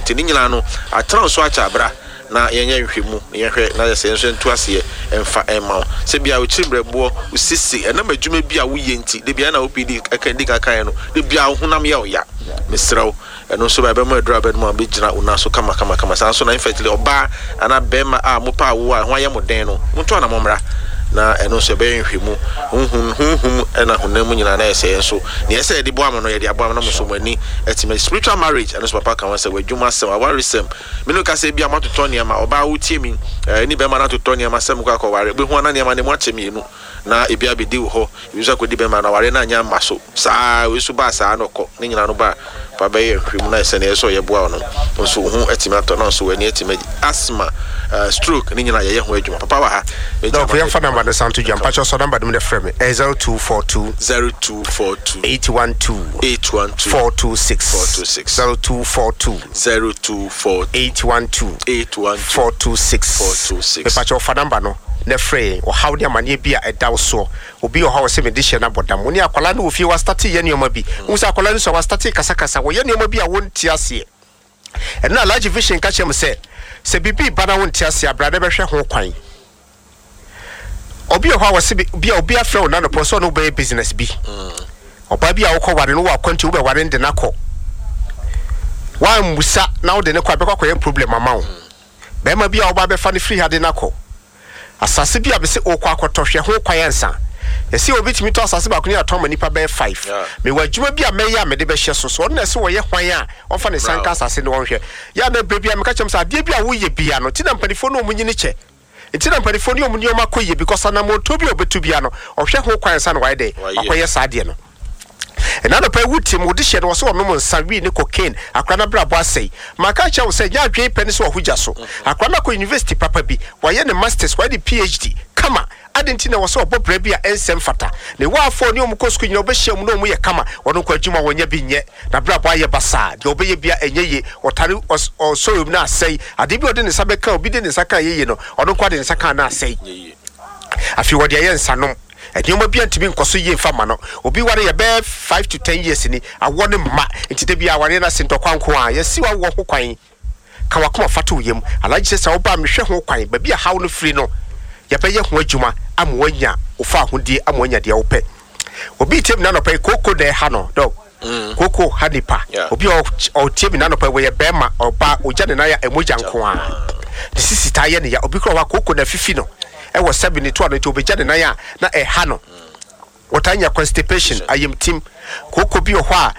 Nti ne nyinaa no, atena wo so akyɛ abra na yɛnyɛ nhwɛmu na yɛnhwɛ na yɛsɛ yɛn nso yɛnto aseɛ mfa mma wo. Sɛ bia wo kyiri mbrɛboɔ, wo sisi, ɛnam adwuma bi a woyɛ nti, da biara na OPD ɛka di kan kaeɛ no, da biara wo honam yɛ wo ya. Mesrɛ wo, ɛno nso ba ɛbɛma aduru a wobɛnom a wobɛgyina wo nan so kama kama kama. Saa nso na infertility, ɔbaa anaa bɛrima a mopɛ awoɔ a ɛho ayɛ mo den no, monto anamɔ mmra na ɛno nso ɛbɛyɛ nhwɛmu. Honhom, honhom ɛna honam mu nyinaa na ɛsɛ yɛn nso nea ɛsɛ yɛde boa mo no yɛde aboa mo na mo nso mo ani atumi. Spiritual marriage, ɛno nso papa ka ho sɛ w'adwuma asɛm, awaresɛm, Me ne wo kasa ebia moatotɔ nneɛma, ɔbaa wotie me eh, ne bɛrima no atotɔ nneɛma sɛ mokɔ akɔware, wobɛhu a na nneɛma no emu akyɛ mmienu na ebi abɛdi wo hɔ, ebi nso akɔdi bɛrima no, awareɛ no anyɛ amma so saa, wei nso baa saa na ɔkɔ, ne nyinaa no ba fa bɛyɛ nhwehwɛmu na sɛ nea ɛsɛ sɛ ɔyɛ boa wo no nso wo ho atumi atɔ na nso w'ani atumi agye. Asthma, eh, stroke ne nyinaa yɛyɛ ho adwuma. Papa wɔ ha, mɛgya Dɔk, ma no yɛmfa number no san to dwa. Mpakyɛw sɔ number no mu na frɛ me. Ɛyɛ 0242. 0242. 812. 812. 426. 426. 0242. 0242. 812. 812. 426. 426. Mepakyɛw fa number no na frɛ yɛn. Ɔhaw ne amaneɛ bi a ɛda wo soɔ. Obi wɔ hɔ a ɔse mede hyɛ no abɔ dam. Wo ne akwadaa no wɔ fie wastate yɛ nneɛma bi. Wohu sɛ akwadaa no sua wastate kasakasa. Wɔyɛ nneɛma bi a wonte aseɛ. Ɛno na Alhaji Vision ka kyerɛ me sɛ, sɛ biribi reba na wonte aseɛ a, bra na bɛhwɛ ho kwan. Obi wɔ hɔ a wɔse bi a obi afrɛ wo nanɔpɔ sɛ ɔne wo bɛyɛ business bi. Ɔbaa bi a wokɔ ware no wɔ akwantu wobɛware no de no akɔ. Woammusa na wode no kɔ a ɛbɛkɔ akɔyɛ problem ama wo. Bɛrima bi a woba abɛfa no firi ha de no akɔ. Asase bi a mese wokɔ akɔtɔ, hwɛ ho kwan ansa. Yɛse obi tumi tɔ asase baako ne atɔn ama nipa bɛyɛ five. Mewɔ adwuma bi a mɛyɛ a mede bɛhyɛ so. So ɔno na ɛse ɔyɛ hwan a ɔmfa ne nsa nka asase no ɔnhwɛ. Yɛ a na berɛ biara meka kyerɛ wɔn sɛ adeɛ bi a woyɛ biara no, nti na mpanifoɔ ne wɔn nyini kyɛ. Nti na mpanifoɔ ne wɔn nneɛma kɔ yie because anammɔntuo bi a ɔbɛtu biara no, ɔhwɛ ho kwan ansa na wayɛ dɛn? Wakɔyɛ saa adeɛ no. Ɛna anɔpa yi wotie me, wode hyɛ no, ɔse ɔnom nsa, wii ne cocaine, akora no abrabɔ asɛe. Maka akyerɛ wo sɛ, nyɛ adwene pɛ ne sɛ ɔho gya so. Akora no akɔ university papa bi, wayɛ ne masters, wayɛ ne PhD, kama. Adɛn nti na ɛwɔ sɛ ɔbɔ bra bi a ɛnsɛ mfata? Ne waafo a ɔne wɔn kɔ sukuu nyinaa, ɔbɛhyia wɔn na wɔn yɛ kama. Ɔno nko adwuma wɔnya bi nyɛ. N'abrabɔ ayɛ basaa. Deɛ ɔbɛyɛ biara ɛnyɛ yie. Ɔtare ɔs ɔsɔre mu na asɛe. Adeɛ bi a ɔde ne nsa bɛka a obi de ne nsa ka a ɛyɛ yie no, ɔno nko ara de ne nsa ka a na asɛe. Afei ɔde ayɛ nsanom. Nneɛma biara ntumi nkɔ so yie mfa mma no. Obi ware yɛ bɛyɛ 5 to 10 years ni, awoɔ no mma. Nti da biara awareɛ no ase ntɔkwa nko ara. Yɛasi w'awoɔ ho kwan. Ka w'akoma fa to wo yam. Alhaji sɛ sɛ woba a mehwɛ ho kwan. Baabi a haw no firi no, yɛbɛyɛ ho adwuma ama woanya wo fawohodie, ama woanya deɛ wopɛ. Obi retie me n'anɔpa yi, kooko na ɛha no. Dɔg, kooko ha nipa. Obi a ɔtie me n'anɔpa yi, wɔyɛ bɛrima, ɔbaa, ɔgya ne nan a ɛmogya nko ara. Ne sisi taa yɛ ne ya. Obi koraa wɔ hɔ a, kooko na afifi no ɛwɔ sɛbe ne to ano nti ɔbɛgya ne nan a na ɛha no. Wɔtaa nya constipation, ayamtim. Kooko bi wɔ hɔ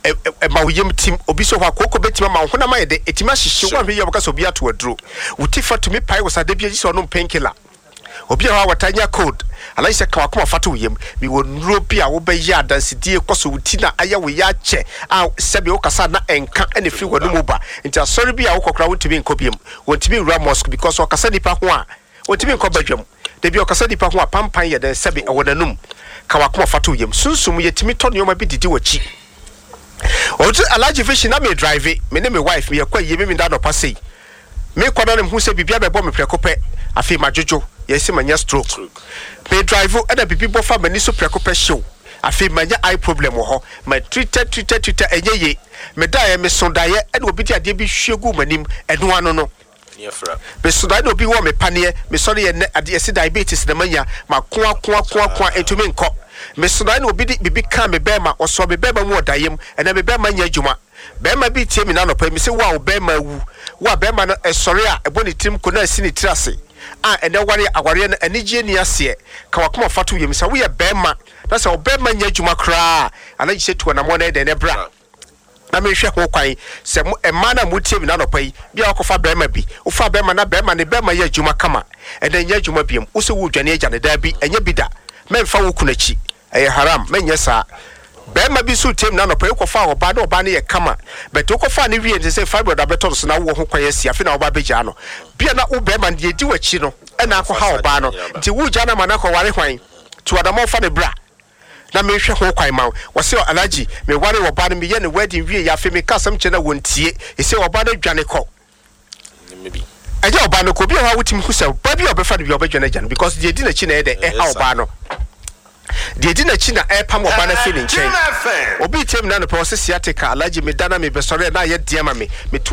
a, ɛma wo yam tim. Obi nso wɔ hɔ a, kooko bɛtumi ama wo honam ayɛ dɛ, ɛtumi ahyehye wo. Woanhwɛ yie a, wobɛka sɛ obi ato aduro. Wo ti fa tumi pae wo saa da bi a, gye sɛ ɔnom painkiller. Obi wɔ hɔ a, wɔtaa nya cold. Anaa gye sɛ ka w'akoma fa to wo yam. Mewɔ nnuro bi a wobɛyɛ a adansedie kɔ so, wo ti na ayɛ wo ya akyɛ a sɛbe wokasa a na ɛnka na ɛfiri w'anomu ba. Nti asɔre bi a wokɔ koraa wontumi nkɔ biom. Wɔntumi nwura mosque because ɔkasa nnipa ho a, Ontumi nkɔ badwam. Da bi ɔkasa nnipa ho a, pampan yɛ dɛn sɛbe ɛwɔ n'anom. Ka w'akoma fa to wo yam. Sunsum, yɛtumi tɔ nneɛma bi didi w'akyi. Ɔte Alhaji Vision na me drive, me ne me wife, yɛkɔ ayie Memenda anɔpa sei. Mekɔ na mehu sɛ biribi abɛbɔ me prɛko pɛ. Afei madwodwo, yɛse manya stroke. Me drive ɛna biribi bɔ fa m'ani so prɛko pɛ hyew. Afei manya eye problem wɔ hɔ. Ma treated treated treated ɛnyɛ yie. Medaeɛ, meso daeɛ ɛna obi de adeɛ bi hwie guu m'anim. Ɛno ano no. Meso dae na obi wɔ me paneɛ, mesɔre yɛ nnɛ ade yɛse diabetes na manya, mako ako ako ako a ɛntumi nkɔ. Meso dae na obi de biribi kaa me bɛɛma, ɔsɔɔ me bɛɛma mu wɔ daeɛ mu, ɛnɛ me bɛɛma nyɛ adwuma. Bɛɛma bi retie me nnɛ anɔpa yi, mese wo a wo bɛɛma awu, wo a bɛɛma no ɛsɔre a ɛbɔ ne tirim ko na asi ne tiri ase a ɛnɛ ware a awareɛ no anigyeɛ nni aseɛ, ka w'akoma fa to wo yam sɛ woyɛ bɛɛma na sɛ wo bɛɛma nyɛ adwuma koraa a, anagye sɛ tu anammɔn na yɛ dɛn na bra. Na menhwɛ ho kwan sɛ mo mmaa no a motie me n'anɔpa yi, bi a woakɔfa barima bi, wofaa barima na barima ne barima yɛ adwuma kama, ɛnɛ nyɛ adwuma biom, wo sɛ woredwane agya no, daabi, ɛnyɛ bi da, mɛmfa wo kunu akyi, ɛyɛ haram, mɛnyɛ saa. Barima bi nso retie me n'anɔpa yi, wokɔfaa ɔbaa na ɔbaa no yɛ kama, but wokɔfaa no wieɛ no sɛ fibroid abɛtɔ no so na wowɔ ho kwan asi, afei na woba abɛgyaa no. Bia na wo barima no deɛ ɛdi w'akyi no na akɔha ɔbaa no, nti woregyaa no ama no akɔware hwan? Tu anammɔn fa no bra. Na menhwɛ ho kwan ma wo. Wɔse Alhaji, me waree ɔbaa no, meyɛ no wedding wie yɛ afei meka asɛm kyerɛ no a wɔntie. Ɛsei ɔbaa no adwane kɔ. Ɛnyɛ ɔbaa no kɔ, obi wɔ hɔ a wotumi hu sɛ ɔbaa bi a ɔbɛfa no bi a ɔbɛdwane agya no because deɛ ɛdi n'akyi na ɛyɛ dɛ ɛha ɔbaa no. Deɛ ɛdi n'akyi na ɛrepam ɔbaa no afiri ne nkyɛn. Obi retie me n'anɔpɛ ɔse sciatica, Alhaji meda na mebɛsɔre a na ayɛ den ama me. Metu.